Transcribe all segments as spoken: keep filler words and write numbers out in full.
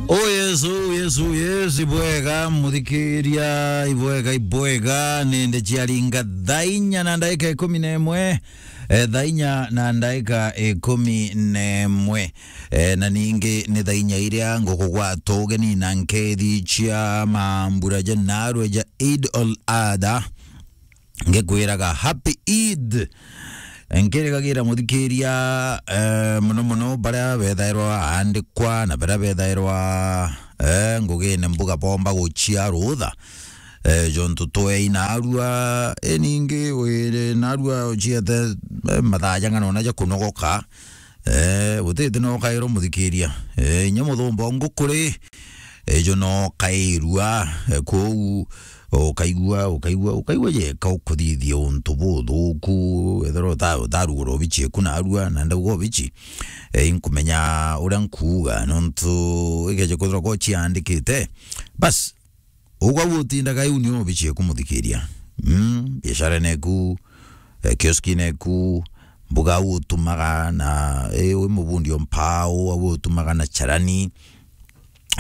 Oh yes, oh yes, oh yes, ibwega muthikiria, ibwega, ibwega, ninde ciaringa thaa inya na ndagika ikumi na imwe, eh, thaa inya na ndagika ikumi na imwe, eh, na ningi ni thaa inya iria ngukugwata ugeni na nkethi cia mambura ja narua ja Eid al-Adha. Ngikwiraga happy Eid. Nkirigagira muthikiria, eh, muno muno baria bethairwa aandikwa na baria bethairwa, eh, ngugine mbuga bomba gucia rutha, eh, jontu twei narua, eh, ningi wiri narua uciete, eh, mathaa jang'ana ona ja kunogoka. Eh, gutiti no kairwa muthikiria. Eh, inya muthumba ngukuri, ijo no kairua, eh, kwou ukaigua, ukaigua, ukaigua yeka ukuthithia untu buthuku, ethirwa uta-, utarugura obici eku narua, na ndauga obici, eh, inkumenya uria nkuuga, nontu ikeje kwithirwa ko ciandikite, bas, ugwa gutindaga iu nio obici eku muthikiria. Mm, biashara neku, eh, kioski neku, mbuga au utumaga na, eh, wi mubundi o mpau, au utumaga na charani,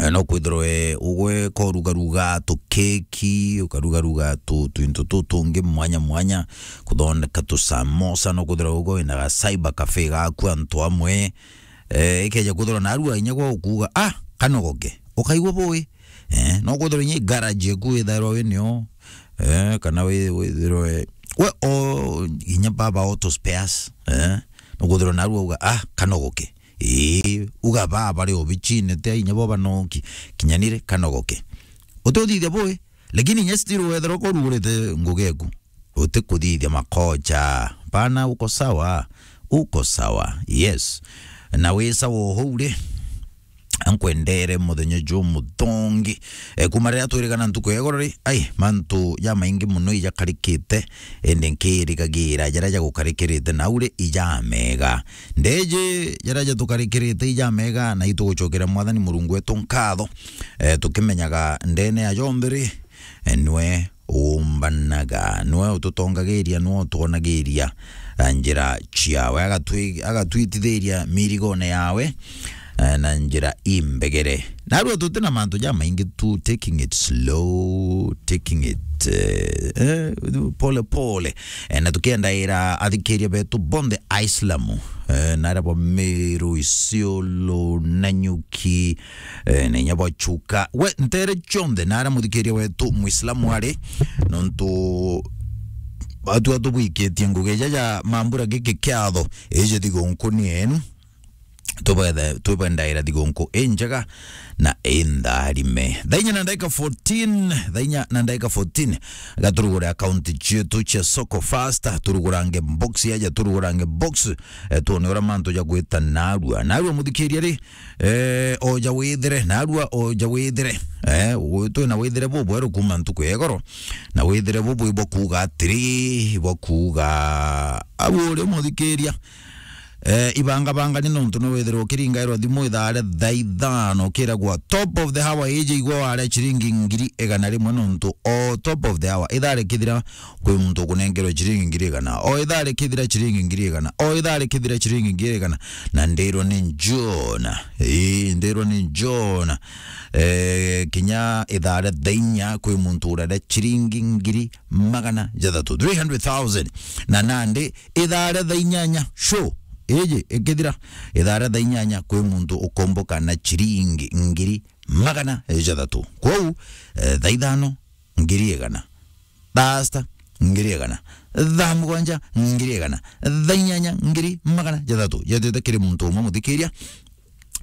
eh, no kwithirwe ugwe korugaruga tu keki, ukarugaruga tu twintu tu tungi mwanya mwanya, kuthondeka tu samosa, no kwithirwa ugwe wina ga cyber cafe gaku antu amwe, eh, ikeja kwithirwa narua inya gwa ukuuga, "Ah, kanogoke," ukaigua bui. Eh, no kwithirwa inya garage eku withairwa wi nio, eh, kana wi-, withirwe we o inya baba auto spares, eh, no kwithirwa narua uga, "Ah, kanogoke." Ii, uga baa bari obicine, ti inya bo banoki, kinyanire kanogoke. Uti uthithia bui, lakini inya still wethirwa kurugurite ngugi eku, uti kuthithia makocha. Bana, uko sawa? Uko sawa. Yes. Na wi sawa uhou ri? Ankwendere muthenya jumuthongi. E, kuma riria twirigana ntuku ya igoro ri, ai, mantu jamaingi muno ijakarikite, indi nkirigagira jaria jagukarikirite nau ri, ijamega. Ndeji jaria jatukarikirite ijamega, na itugucokera Mwathani Murungu wetu nkatho, e, tukimenyaga ndene ya jonthe ri, e, nwe uumbanaga, nwe ututongagiria, nwe utwonagiria, e, njira ciawe, agatwi-, agatwitithiria mirigone yawe, e, na njira imbegere. Narua tuti na mantu jamaingi tu, taking it slow, taking it, eh, eh, pole pole. Eh, na tukiendaira athikiria betu bonthe Aislamu, eh, na aria bo Meru, Isiolo, Nanyuki, eh, na inya bo Chuka. We, ntere cionthe, na aria muthikiria wetu Muislamu ari, nontu atua tubwikitie ngugi jaja mambura giki kiatho, iji thigunku ni enu. Tubethe-, tubendaira thigunku injega na intharime. Thaa inya na ndagika fourteen, thaa inya na ndagika fourteen, ga turugure account cietu cia Soko Fasta, turugurange box yaja, turugurange box, eh, tuone uria mantu jagwita narua. Narua muthikiria ri, eh, oja withire, narua oja withire. Eh, gu-, twina withire bubweru kuma ntuku ya igoro, na withire bubu ibwa kuuga atiri, ibwa kuuga, au uri muthikiria, Eh, ibangabangani nontu no withirwa ukiringairwa thimu ithaa ria thaa ithano, ukiragwa top of the hour iji igwa waria ciringi ngiri igana rimwe nontu o top of the hour ithaa rikithira kwi muntu ukunengerwa ciringi ngiri igana, o ithaa rikithira ciringi ngiri igana, o ithaa rikithira ciringi ngiri igana, na ndirwa ni Jona. Ii, ndirwa ni Jona. Eh, kinya ithaa ria thaa inya kwi muntu uraria ciringi ngiri magana jathatu, three hundred thousand. Na nandi ithaa ria thaa inyanya, show iji ikithira, ithaa ria thaa inyanya kwi muntu ukomboka na ciringi ngiri magana jathatu. Kwou, eh, thaa ithano, ngiri igana. Thaa sita, ngiri igana. Thaa mugwanja, ngiri igana. Thaa inyanya, ngiri magana jathatu. Jatwite kiri muntu umwe muthikiria.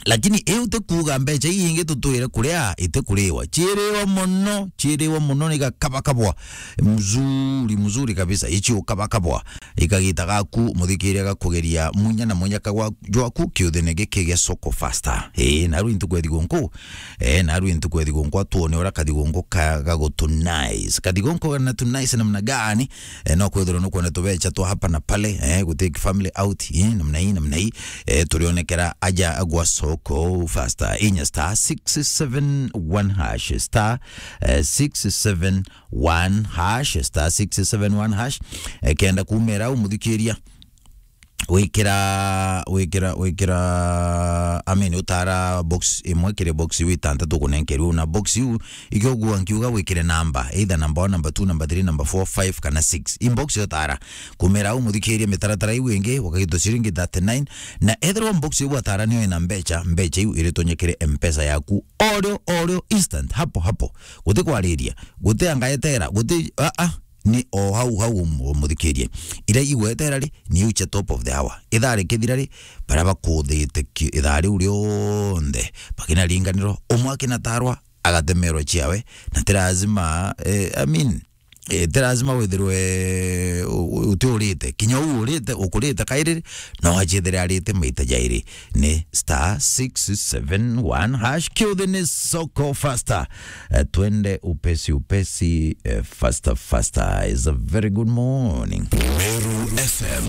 Lakini iu ti kuuga mbeca ii ingi tutwire kuria, iti kuriwa. Ciiriwa mono, ciiriwa mono, ni gakabakabwa. Mzuri, mzuri kabisa. Ici ukabakabwa. Ikagita gaku, muthikiria gakugeria munya na munyaka gwa-, jwaku kiuthine giki gia Soko Fasta. Ii, na riu ntuku ya thigunku. Eh, na riu ntuku ya thigunku, atuone uria kathigunku ka-, gagutu nice. Kathigunku kana tu nice namna gani? Eh, no kwithirwa nukwenda tubeca twa hapa na pale, eh, gu take family out, eh, namna hii, namna hii. Eh, turionekera aja gwa Soko Fasta. Inya star six seven one hash, star, eh, six seven one hash, star six seven one hash. Eh, kenda kumera umuthikiria. wikira wikira wikira I mean, utara box imwe kiri box iu itantatu ukunenkerwe, na box iu ikio gua nkiuga wikire namba, either number one, number two, number three, number four, five kana six. Inbox yotara kumera u muthikirie mitaratara iu ingi, wakagito ciringi thirty-nine, na ethirwa box iu watara niyo ina mbecha, mbecha iu iritonyekere mpesa yaku orio orio, instant, hapo hapo, guti kwariria, guti angaetera, guti a a ni o hau hau, um- umuthikirie. Ira igwetera ri, ni uche top of the hour. Ithaa rikithira ri, baria bakuthite ki- ithaa riu rionthe bakina ringanirwa, umwe akina tarwa, agatemerwa ciawe, na ti lazima, eh, I mean, eh, ti lazima withirwe u- u- uti urite. Kinya u urite, ukurite kairi, no achithire arite maita jairi. Ni star six seven one hash. Kiuthi ni soko faster. Eh, twende upesi upesi, eh, faster faster. Is a very good morning. Meru F M.